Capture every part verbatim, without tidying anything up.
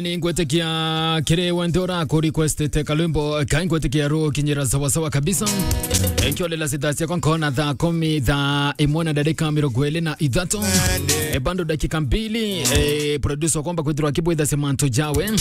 Ni ngwitikia kiri wenthe ura ku requestite kalwimbo kai, ngwitikia rukinyira sawa sawa kabisa. Nkiolela sita ciakwa nkona thaa kumi, thaa imwe na ndarika mirongo iri na ithatu. E, bado dakika mbili, e, producer kwamba kwithirwa akibwitha semanto jawe.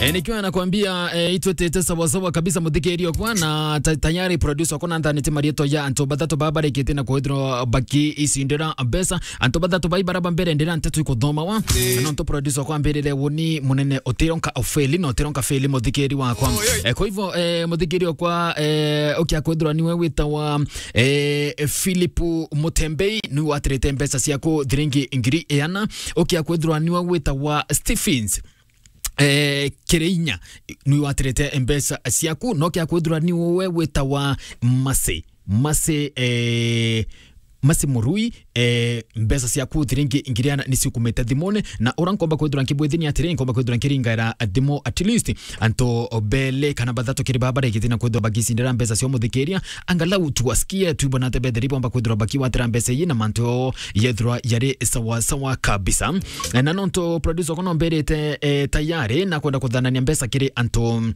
E, nikiwa nakwambia, e, itwetete sawa sawa kabisa, muthikiri okwa na ta-, tayari producer okwa na nthanite marietwa ya antu bathatu baba barikite na kwithirwa bakicindira mbeca. Antu bathatu bai baraba mbere ndira nteto ikuthomawa. Na nontu producer okwa ambirire woni munene utironka ofeli na utironka feli, muthikiri wakwa. E, kwa hivyo, e, muthikiri okwa, e, ukia kwithirwa niwe witawa, e, Philip Mutembei, niwe watirite mbeca ciaku thiringi ngiri iana. Ukia kwithirwa niwe witawa Stephens, e, Kireinya, niwe watirite mbeca ciaku. No kia kwithirwa niwe witawa Masi, Masi, e, Masi Murui, e, mbeca ciaku thiringi ngiri iana ni ciukumite thimone, na ura nkomba kwithirwa nkibwithini atiri, nkomba kwithirwa nkiringaira thimu at least antu beli kana bathatu kiri baba barikite na kwithirwa bagicindira mbeca cia muthikiria, angalau tuwasikie, twibone ati betheri bomba kwithirwa bakiwatira mbeca ii na mantu yethirwa yari sawa sawa kabisa. Na nontu producer kono mbirite, e, tayari na kwenda kuthanania mbeca kiri antu,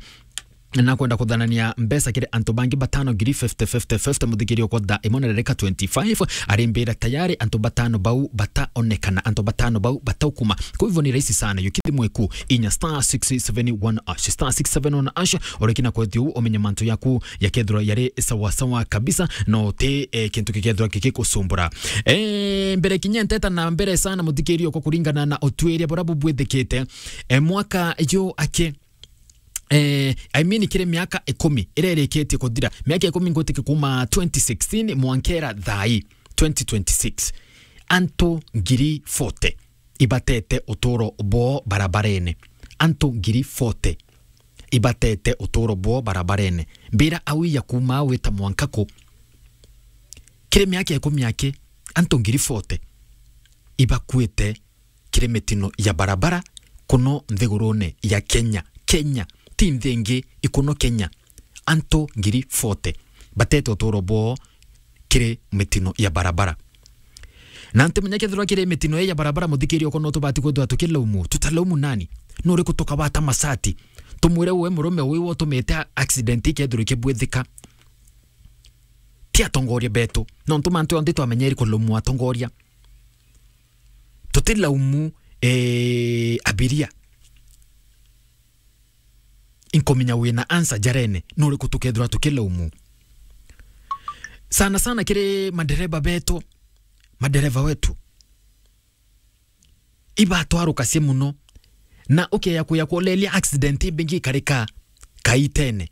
na kwenda kuthanania mbeca kiri antu bangi batano, ngiri fifty, fifty, fifty, muthikiri okwa thaa imwe na ndarika twenty-five, arimbira tayari antu batano bau bataonekana, antu batano bau bataukuma. Kwa hivyo ni rahisi sana, yukithi mweku inya star six seven one hash, star six seven one hash, urikina kwethi u umenye mantu yaku yakethirwa yari sawa sawa kabisa, no ti, eh, kintu kikethirwa kigikusumbura. Eh, mbere kinya nteta na mbere sana, muthikiri okwa, kuringana na utwiria bura bubwithikite, eh, mwaka ju aki eh, I mean, kiri miaka ikumi iria irikitie kuthira, miaka ikumi ngwitike kuma twenty sixteen mwankera thai twenty twenty-six, antu ngiri forty ibatete uturo bwoo barabarene. Antu ngiri forty ibatete uturo bwoo barabarene. Mbira au ya kuma wita mwanka ku? Kiri miaka ikumi aki, antu ngiri forty ibakuite kiri mitino ya barabara kuno nthigurune ya Kenya. Kenya, ti nthi ingi, ikuno Kenya. Antu ngiri forty batete uturo bwoo kiri mitino ya barabara. Na ntimenya kethirwa kiri mitino ii ya barabara, muthikiri okwa, no tubati kwithirwa tukilaumu. Tutalaumu nani? Nuriku tukawata macati? Tumwire we murume uyu utumite accident ikethirwa ikibwithika? Ti atongoria betu. Nontu mantu onthe twamenyeri kulaumu atongoria. Tutilaumu, eh, abiria. Inkumenya wina answer jarene, nuriku tukethirwa tukilaumu? Sana sana kiri madereba betu, madereba wetu. Ibatwarukacia muno. Na ukeya kuya kulelia accident imbingi ikarika kaitene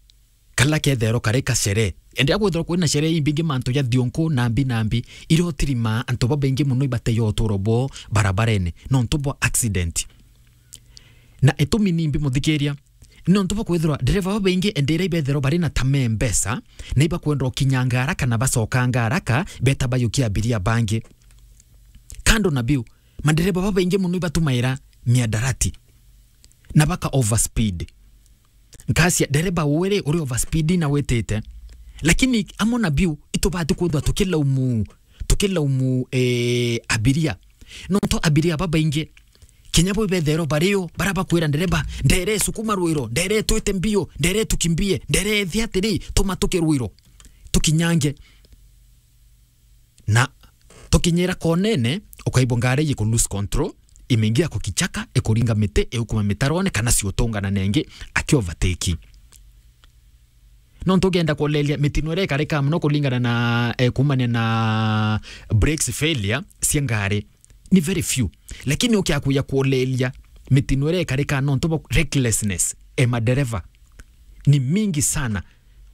kala kethero karika sherehe. Endia kwithirwa kwina sherehe imbingi mantu ja thionku na mbi na mbi, iria utirimaa antu babaingi muno ibateyo uturo bwoo barabarene nontu bwa accident. Na itumi nimbi, muthikiria? Nontu bwa kwithirwa ndereva babaingi endira ibethero bari na tame mbesa, na ibakwenda ukinyanga haraka na bacokanga haraka, beta bayukia abiria bangi. Kando na biu, madereva babaingi muno ibatumaira miadarati na baka overspeed. Nkacia, dereva uwe ri, uri overspeed na witite. Lakini amwe na biu, itubati kwithwa tukilaumu, tukilaumu, eh, abiria. Nontu abiria babaingi, kinya bo ibethero bario, bara bakwira ndereva, "Ndere sukuma rwiro, ndere twite mbio, ndere tukimbie, ndere thi atiri, tuma tuke rwiro, tukinyange." Na tukinyira konene, ukaigua ngari iku lose control, imeingia kwa kichaka, ikuringa miti, iukuma mitarone, kana ciutungana nengi, aki overtake. Nontu ukienda kulelia mitino iria ikarika muno kuringana na, eh, kumania na brakes failure cia ngari, ni very few. Lakini ukia kuya kulelia mitino iria ikarika nontu bwa recklessness e madereva ni mingi sana.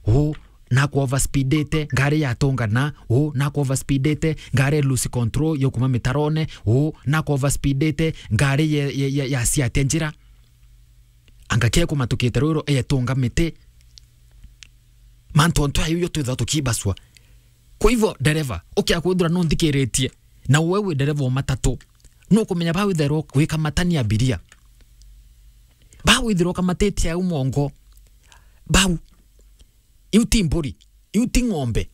Uu nakwa overspeedite, ngari yatongana, uu nakwa overspeedite, ngari lose control yokuma mitarone, uu nakwa overspeedite, ngari ye, ye, ye, yaciatia njira. Anga kekumatukite rwiro etunga miti. Mantu ontu ayu yo twithwa tukibaswa. Kwa hivyo, dereva, ukia kwithirwa nunthikiritie, na uwe wi dereva wa matatu, nukumenya bau itherwa wikamatania abiria. Bau itherwa ukamatitie au mongo. Bau. Iu ti mburi. Iu ti ng'ombe.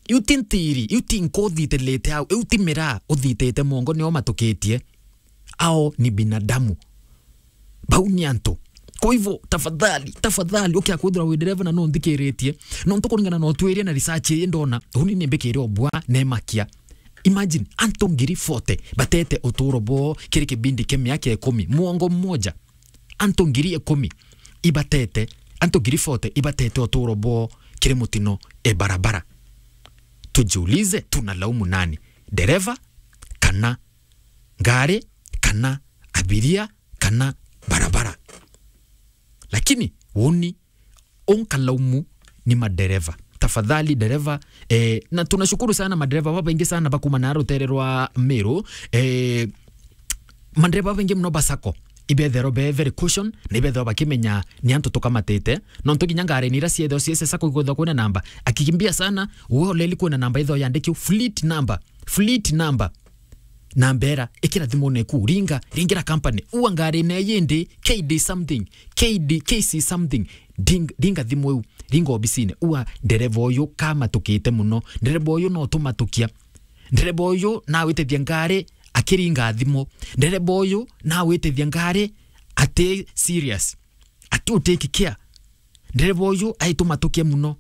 Iu ti ntiri. Iu ti nku uthitilite au. Iu ti miraa uthitite mongo nio matukitie. Ao ni binadamu. Bau ni antu. Kwa hivyo, tafadhali, tafadhali, ukia kwithirwa wi ndereva na no nthikiritie, nontu kuringana na utwirie na research ii ndona, uni ni mbikire obwa na imakia. Imagine, antu ngiri forty batete uturo bwao kiri kibindi kia miaka ikumi, mwongo mmoja. Antu ngiri ikumi ibatete, antu ngiri forty ibatete uturo bwao kiri mutino e barabara. Tujiulize, tunalaumu nani? Dereva kana ngari kana abiria kana barabara? Lakini uni unkalaumu ni madereva. Tafadhali dereva, eh, na tunashukuru sana madereva babaingi sana bakuma na rutere rwa Meru, eh, madereva babaingi muno ba sacco ibethero be very caution na ibethero bakimenya ni antu tukamatite, nontu kinya ngari ni ira ciethero ciese sacco igwethwa kwina namba, akikimbia sana, uwe oleli kwina namba itho yandikio fleet number, fleet number. Na mbera, ikira thimune ku, ringa, ringira company, ua ngari ne yindi, K D something, K D, K C something, ding-, ringa thimu iu, ringa obisine, ua ndereva uyu kamatukite muno, ndereva uyu no tumatukia, ndereva uyu nawitithia ngari akiringa thimu, ndereva uyu nawitithia ngari ati serious, ati u take care. Ndereva uyu aitumatukia muno.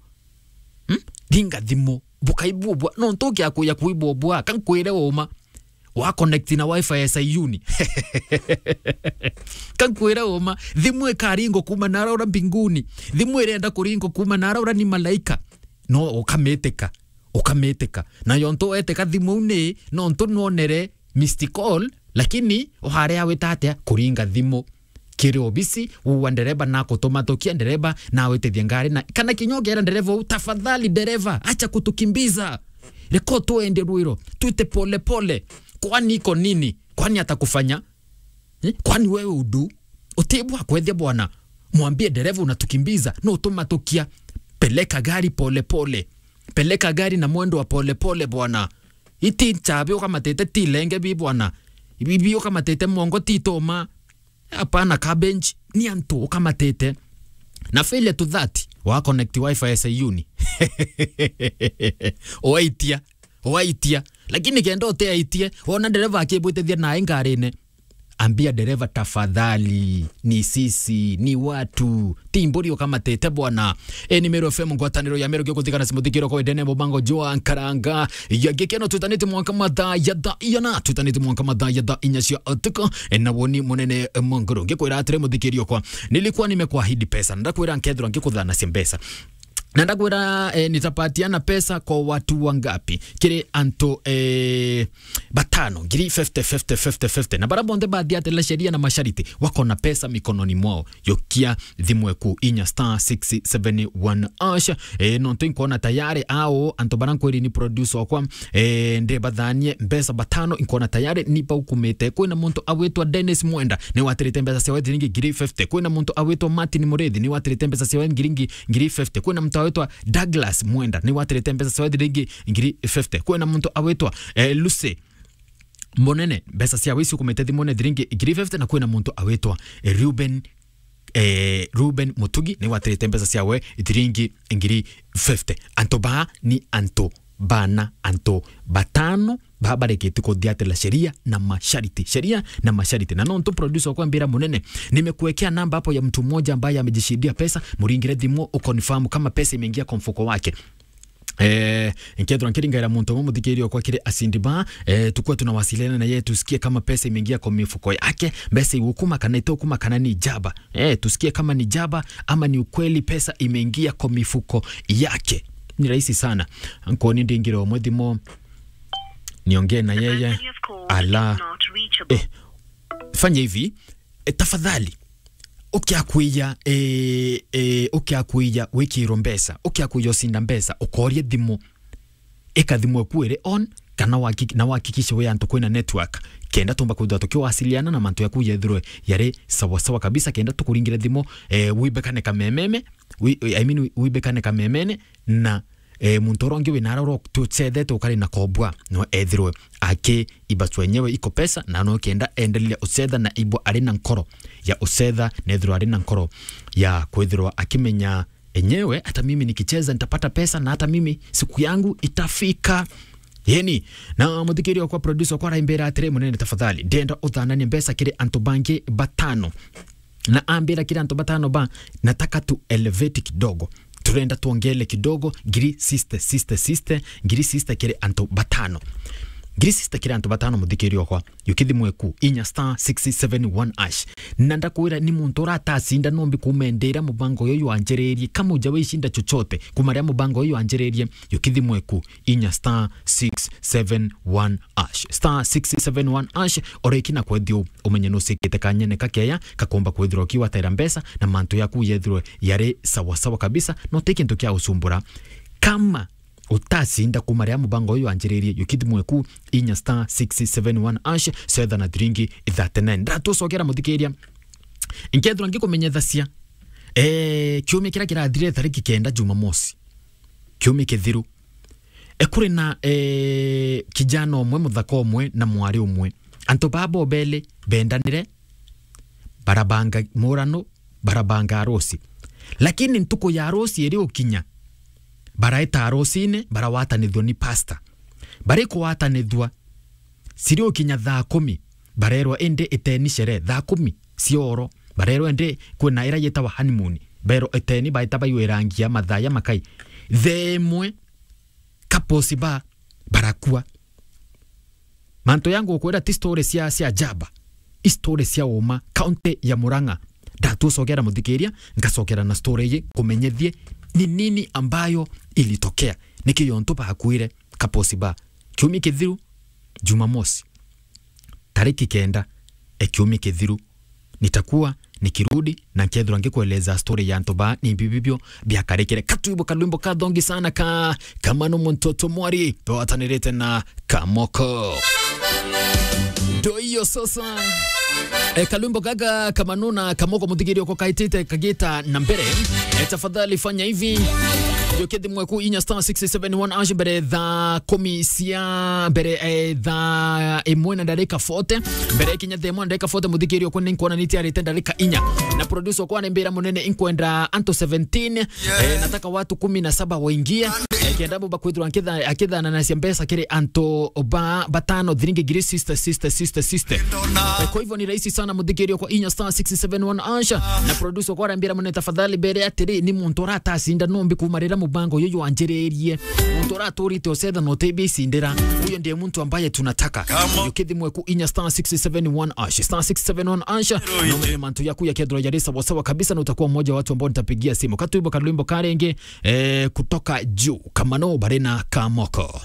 Hmm? Ringa thimu. Bukaibubwa. No ntukia kuya kuibubwa. Kankwire uma. Wa connect na wifi ya Sayuni. Kankwire uma. Thimu ikaringo kuma na araura mbinguni. Thimu irenda kuringo kuma na araura ni malaika. No ukamitika. Ukamitika. Na yontu weteka thimu ni, no ntu nwonere missed call, lakini uhare awita atia kuringa thimu. Kiri obisi, uwa ndereba na kutumatukia ndereba na awitithia ngari na, kana kinya ukeera ndereba uu, "Tafadhali dereva, acha kutukimbiza. Reka tuende rwiro, twite pole pole. Kwani iko nini? Kwani atakufanya? Eh? Kwani wewe udu? Utibwa kwethia bwana. Mwambie dereva unatukimbiza, no utumatukia. Peleka gari pole pole. Peleka gari na mwendo wa pole pole bwana. Iti chabi ukamatete ti lenge bi bwana. Ibi bi ukamatete mongo ti toma." Hapana cabbage, ni antu ukamatete. Na failure to that, wa connect wifi ya Sayuni. Waitia, waitia. Lakini kenda uteaitie, wona ndereva akibwitithia nae ngarine, ambia ndereva, "Tafadhali, ni sisi, ni watu, ti mburi ukamatete bwana." E, ni Meru F M, ngwataniro ya Meru, gikuthikana simuthikiro kwa idene mubango jwa nkaranga. Ya gikeno, twitanite mwanka mathaa ya thaa iana, twitanite mwanka mathaa ya thaa inya cia utuku. E, na woni munene, e, Munguru. Ngikwira atiri, muthikirio kwa, nilikuwa nimekuahidi pesa, na ndakwira nkethirwa ngikuthanacia mbeca. Na ndakwira, eh, nitapatiana pesa kwa watu wangapi? Kiri antu, eh, batano, ngiri fifty, fifty, fifty, fifty. Na bara bonthe bathiatira sheria na mashariti, wako na pesa mikononi mwao. Yokia thimu eku inya star six seven one hash. Eh, nontu inkwona tayari ao, antu bara nkwiri ni producer okwa, eh, ndibathanie mbeca batano, inkwona tayari ni baukumite. Kwina muntu awitwa Dennis Mwenda, ni watirite mbeca ciawe thiringi ngiri fifty. Kwina muntu awitwa Martin Murithi, ni watirite mbeca ciawe ngiringi ngiri fifty. Kwina muntu awitwa Douglas Mwenda, ni watirite mbeca ciawe thiringi ngiri fifty. Kwina muntu awitwa, eh, Lucy Munene, mbeca ciawe icio ukumite thimune thiringi ngiri fifty, na kwina muntu awitwa, eh, Reuben, eh, Reuben Mutugi, ni watirite mbeca ciawe thiringi ngiri fifty. Antu baa ni antu bana, antu batano baa bareketi kuthiatira sheria na mashariti, sheria na mashariti. Na nontu producer ukwambira Munene, nimekuwekea namba hapo ya mtu mmoja ambaye amejishindia pesa, muringire thimu uconfirm kama pesa imeingia kwa mfuko wake. Eh, nkethirwa nkiringaira muntu umwe, muthikiria okwa, kiri acindi baa, eh, tukue tunawasiliana na yeye, tusikie kama pesa imeingia kwa mifuko yake, mbeca igukuma kana itukuma, kana ni jaba. Eh, tusikie kama ni jaba ama ni ukweli pesa imeingia kwa mifuko yake. Ni rahisi sana. Nkoni ndingire umwe thimu, niongee na yeye. Ala. Eh, fanya hivi, eh, tafadhali. Ukiakuija, eh, eh, ukiakuija wikirwo mbeca, ukiakuija ucinda mbeca, ukorie thimu. Ika thimu eku iri on, kana waki-, na wakikishe wi antu kwina network. Kenda tumba kwithirwa tukiwasiliana na mantu yaku yethirwe yari sawa sawa kabisa, kenda tukuringire thimu, eh, wibekane kamememe, wi-, I mean, wibekane kamemene, na, eh, muntu uria ungi wina aria ura tucethete ukari na kobwa, no ethirwe aki ibacwa enyewe iko pesa, na no kenda endelea ucetha na ibwa ari na nkoro ya ucetha, na ethirwa ari na nkoro ya kwithirwa akimenya enyewe, "Hata mimi nikicheza nitapata pesa, na hata mimi siku yangu itafika." Yeni, na muthikiria okwa, producer okwa araimbira atiri, "Munene, tafadhali, ndenda uthananie mbeca kiri antu bangi batano." Na ambira kiri antu batano ba, nataka tu elevate kidogo. Turenda tuongele kidogo, ngiri sixty, sixty, sixty, ngiri sixty kiri antu batano. Ngiri sixty kiri antu batano, muthikiria okwa. Yukithimwe ku, inya star six seven one hash. Na ndakwira ni muntu uratacinda nombi kumendera mubango uyu wanjiririe. Kama uja wishinda chochote, kuma riria mubango uyu wanjiririe, yukithimwe ku, inya star six seven one hash. Star six seven one hash, oreki na kwethio umenye nucikite kanyene kakeya, kakomba kwithirwa kiwatera mbeca, na mantu yaku yethirwe yari sawa sawa kabisa, no ti kintu kia ucumbura. Kama utacinda kuma riria mubango uyu wanjiririe, yukithimwe ku, inya star six seven one hash, cetha na thiringi thirty-nine. Ndatucokera muthikiria. Nkethirwa ngikumenyethacia, eh, kiumia kiria kirathire tariki kenda Jumamosi. Kiumia kithiru. E, kuri na, eh, kijana umwe, muthaka umwe, na mwari umwe. Antu baa bobeli bendanire, barabanga murano, barabanga arusi. Lakini ntuku ya arusi iri ukinya, baraeta arusine, barawatanithua ni pastor. Bari kuwatanithua, ciri ukinya thaa kumi, barerwa indi iteni sherehe thaa kumi cia oro. Barerwa indi kwina ira yetawa honeymoon. Berwa iteni, baeta baiwe rangi ya mathaya makai. Thaa imwe, couples ba barakua. Mantu yangu gukwira ti story cia, cia jaba. I story cia uma, county ya Murang'a. Ndatucokera muthikiria, ngacokera na story iyi, kumenyethie ni nini ambayo ilitokea. Niki yontu bakuire couples ba. Kiumia kithiru, Jumamosi. Tariki kenda, e kiumia kithiru. Nitakuwa nikirudi na nkethirwa ngikueleza story ya antu ba ni bibibio biakarikire. Katuibo kalwimbo ka thongi sana ka Kamano Muntoto Mwari, twatanirite na Kamoko. Ndo hiyo sasa. E, kalwimbo gaga Kamano na Kamoko muthigirio ko kaitite kagita na mbere. E, tafadhali fanya hivi. Yukithimwe ku inya star six seven one hash mbere thaa kumi cia mbere, e, thaa imwe na ndarika forty. Mbere kinya thaa imwe na ndarika forty, muthigirio ko ninkuona ni tiarite ndarika inya. Na producer kwa nembira munene inkwenda anto seventeen. Eh, nataka watu kumi na saba waingie. Eh, kenda bo bakwithirwa akitha-, akithananacia mbeca kiri antu ba batano, thiringi ngiri sixty, sixty, sixty, sixty. Eh, kwa hivyo ni rahisi sana muthikirio kwa inya star six seven one hash. Na producer kwa arambira mune tafadhali mbere atiri ni muntu uratacinda nombi kuma riria mubango uyu wanjiririe. Muntu uraturite ucetha na utibicindira. Huyo ndiye muntu ambaye tunataka. Yukithimwe ku inya star six seven one hash. Star six seven one hash. Na umenye mantu yaku yakethirwa yari sawa sawa kabisa, na utakuwa mmoja wa watu ambao nitapigia simu. Katuibo kalwimbo karenge, eh, kutoka juu. Kamano bari na Kamoko.